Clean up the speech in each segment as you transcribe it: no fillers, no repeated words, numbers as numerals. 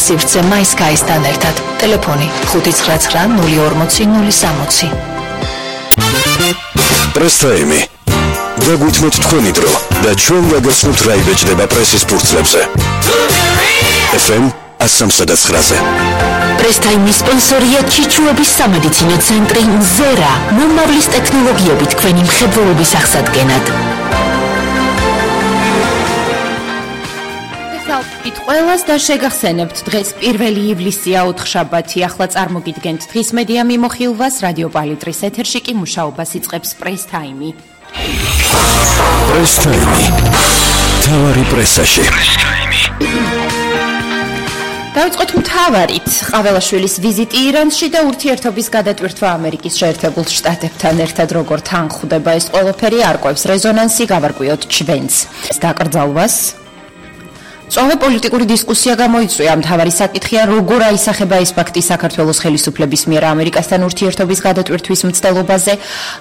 სივრცე MySky-სთან ერთად. ტელეფონი 599 040 060. პრესტაიმი. დაგვითმოთ თქვენი დრო და ჩვენ ვაგრძნობთ რა იბეჭდება პრესის ფურცლებზე. FM 103.9-ზე. პრესტაიმის სპონსორია ჩიჩუების სამედიცინო ცენტრი ზერა, მომავლის ტექნოლოგიებით თქვენი მხედველობის აღსადგენად. ყველას და შეგახსენებთ დღეს 1 ივლისია 4-შაბათი. ახლა წარმოგიდგენთ დღის მედია მიმოხილვას. რადიო პალიტრის ეთერში კი მუშაობას იწყებს პრესტაიმი. პრესტაიმი. თავარი პრესაში. დავიწყოთ მთავარით. ყაველაშვილის ვიზიტი ირანში და ურთიერთობის გადატვირთვა ამერიკის შეერთებულ შტატებთან ერთად როგორ თანხდება ეს ყველაფერი არკვევს რეზონანსი, გავარკვიოთ ჩვენც. დაკრძალვას სწორე პოლიტიკური დისკუსია გამოიწვია. მთავარი საკითხია, როგორ აისახება ეს ფაქტი საქართველოს ხელისუფლების მიერ ამერიკასთან ურთიერთობის გადატვირთვის მცდელობაზე.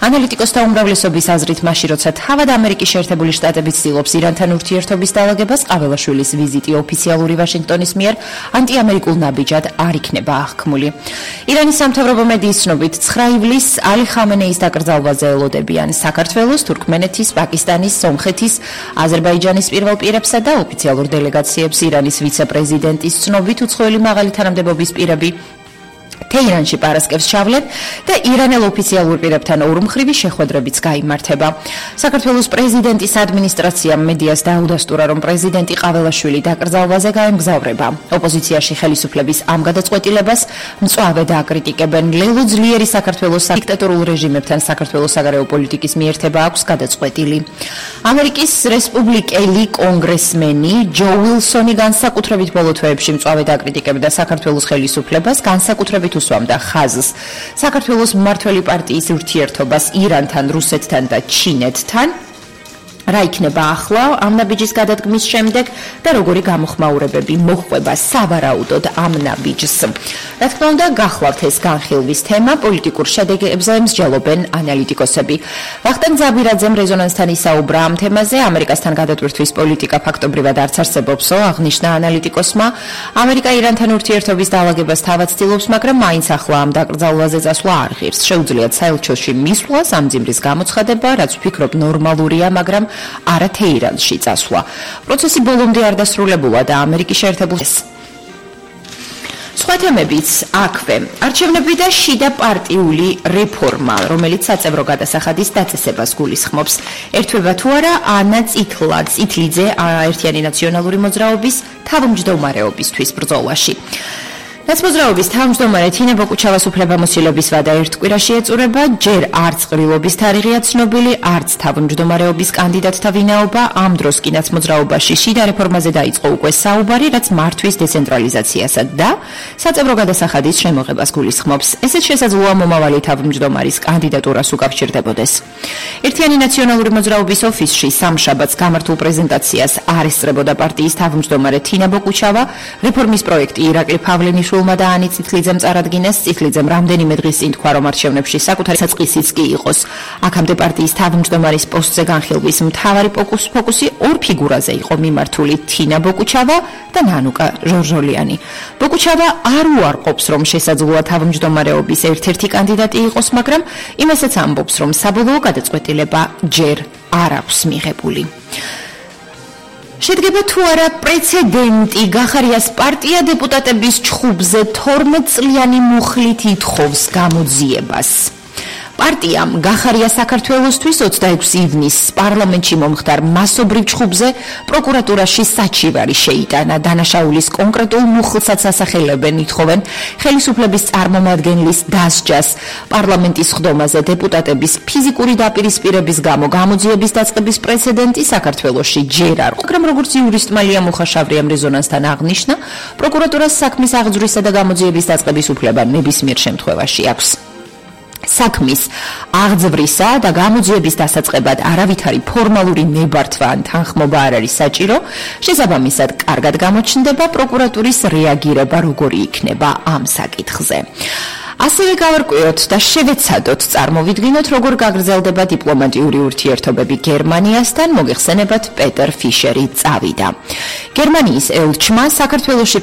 ანალიტიკოსთა უმრავლესობის აზრით, მაშინ როცა თავად ამერიკის შეერთებული შტატები ცდილობს ირანთან ურთიერთობის დაალაგებას, ყაველაშვილის ვიზიტი ოფიციალური ვაშინგტონის მიერ ანტიამერიკულ ნაბიჯად არ იქნება აღქმული. ირანის სამთავრობო მედიის ცნობით, 9 ივლისს ალი ხამენეის დაკრძალვაზე ელოდებიან საქართველოს, თურქმენეთის, პაკისტანის, სომხეთის, აზერბაიჯანის პირველ პირებსა და ოფიციალურ დელეგაციებს ირანის ვიცე-პრეზიდენტის ცნობით უცხოელი მაღალი თანამდებობის პირები თეირანში პარასკევს ჩავლენ და ირანელ ოფიციალურ პირებთან ორმხრივი შეხვედრებიც გაიმართება. საქართველოს პრეზიდენტის ადმინისტრაციამ მედიას დაუდასტურა, რომ პრეზიდენტი ყაველაშვილი დაკრძალვაზე გაემგზავრება. ოპოზიციაში ხელისუფლების ამ გადაწყვეტილებას მწვავე დააკრიტიკებენ. ლელო ძლიერი საქართველოს დიქტატორულ რეჟიმებთან საქართველოს საგარეო პოლიტიკის მიერთება აქვს გადაწყვეტილი. ამერიკის რესპუბლიკელი კონგრესმენი ჯო უილსონი განსაკუთრებით ბოლო თვეებში მწვავე დააკრიტიკებდა საქართველოს ხელისუფლებას, განსაკუთრებით უსვამდა ხაზს საქართველოს მმართველი პარტიის ურთიერთობას ირანთან, რუსეთთან და ჩინეთთან. რა იქნება ახლა ამ ნაბიჯის გადადგმის შემდეგ და როგორი გამოხმაურებები მოხვება სავარაუდოდ ამ ნაბიჯს. რა თქმა უნდა, გახლავთ ეს განხილვის თემა, პოლიტიკურ შედეგებზე მსჯელობენ ანალიტიკოსები. ვახტანგ ზაბირაძემ რეზონანსთან ისაუბრა ამ თემაზე. ამერიკასთან გადატვირთვის პოლიტიკა ფაქტობრივად არც არსებობსო, აღნიშნა ანალიტიკოსმა. ამერიკა ირანთან ურთიერთობის დაალაგებას თავად ცდილობს, მაგრამ მაინც ახლა ამ დაკრძალვაზე წასვლა არ ღირს. შეუძლიათ საელჩოში მისვლა, სამძიმრის გამოცხადება, რაც ვფიქრობ ნორმალურია, მაგრამ არა თეირანში წასვლა. პროცესი ბოლომდე არ დასრულებულა და ამერიკის შეერთებულ სხვა თემებიც აქვე. არჩევნები და შიდა პარტიული რეფორმა, რომელიც საწევრო გადასახადის დაწესებას გულისხმობს. ერთვება თუ არა ანა წითლიძე ერთიანი ნაციონალური მოძრაობის თავმჯდომარეობისთვის ბრძოლაში. ნაცმოძრაობის თავმჯდომარე თინა ბოკუჩავას უფლებამოსილების ვადა ერთ კვირაში ეწურება, ჯერ არც ყრილობის თარიღია ცნობილი, არც თავმჯდომარეობის კანდიდატთა ვინაობა. ამ დროს კი ნაცმოძრაობაში შიდა რეფორმაზე დაიწყო უკვე საუბარი, რაც მართვის დეცენტრალიზაციასა და საწევრო გადასახადის შემოღებას გულისხმობს. ესეც შესაძლოა მომავალი თავმჯდომარის კანდიდატურას უკავშირდებოდეს. ერთიანი ნაციონალური მოძრაობის ოფისში სამშაბათს გამართულ პრეზენტაციას არ ესწრებოდა პარტიის თავმჯდომარე თინა ბოკუჩავა. რეფორმის პროექტი ირაკლი პავლენიშვილმა და ანი წითლიძემ წარადგინეს. წითლიძემ რამდენიმე დღის წინ თქვა, რომ არჩევნებში საკუთარი საწყისიც კი იყოს. აქამდე პარტიის თავმჯდომარის პოსტზე განხილვის მთავარი ფოკუსი ორ ფიგურაზე იყო მიმართული: თინა ბოკუჩავა და ნანუკა ჟორჟოლიანი. ბოკუჩავა არ უარყოფს, რომ შესაძლოა თავმჯდომარეობის ერთ-ერთი კანდიდატი იყოს, მაგრამ იმასაც ამბობს, რომ საბოლოო გადაწყვეტილება ჯერ არ აქვს მიღებული. შედგება თუ არა პრეცედენტი, გახარიას პარტია დეპუტატების ჩხუბზე 12 წლიანი მუხლით ითხოვს გამოძიებას. პარტიამ გახარია საქართველოსთვის 26 ივნისს პარლამენტში მომხდარ მასობრივ ჩხუბზე პროკურატურაში საჩივარი შეიტანა. დანაშაულის კონკრეტულ მუხლსაც ასახელებენ, ითხოვენ ხელისუფლების წარმომადგენლის დასჯას პარლამენტის ხდომაზე დეპუტატების ფიზიკური დაპირისპირების გამო გამოძიების დაწყების პრეცედენტი საქართველოში ჯერ არ. მაგრამ როგორც იურისტმა ლია მუხაშავრიამ რეზონანსთან აღნიშნა, პროკურატურას საქმის აღძვრისა და გამოძიების დაწყების უფლება ნებისმიერ შემთხვევაში აქვს. საქმის აღძვრისა და გამოძიების დასაწყებად არავითარი ფორმალური ნებართვა ან თანხმობა არ არის საჭირო. შესაბამისად, კარგად გამოჩნდება პროკურატურის რეაგირება როგორი იქნება ამ საკითხზე. ასევე გავარკვიოთ და შევეცადოთ წარმოვიდგინოთ, როგორ გაგრძელდება დიპლომატიური ურთიერთობები გერმანიასთან. მოგეხსენებათ, პეტერ ფიშერი წავიდა. გერმანიის ელჩმა საქართველოში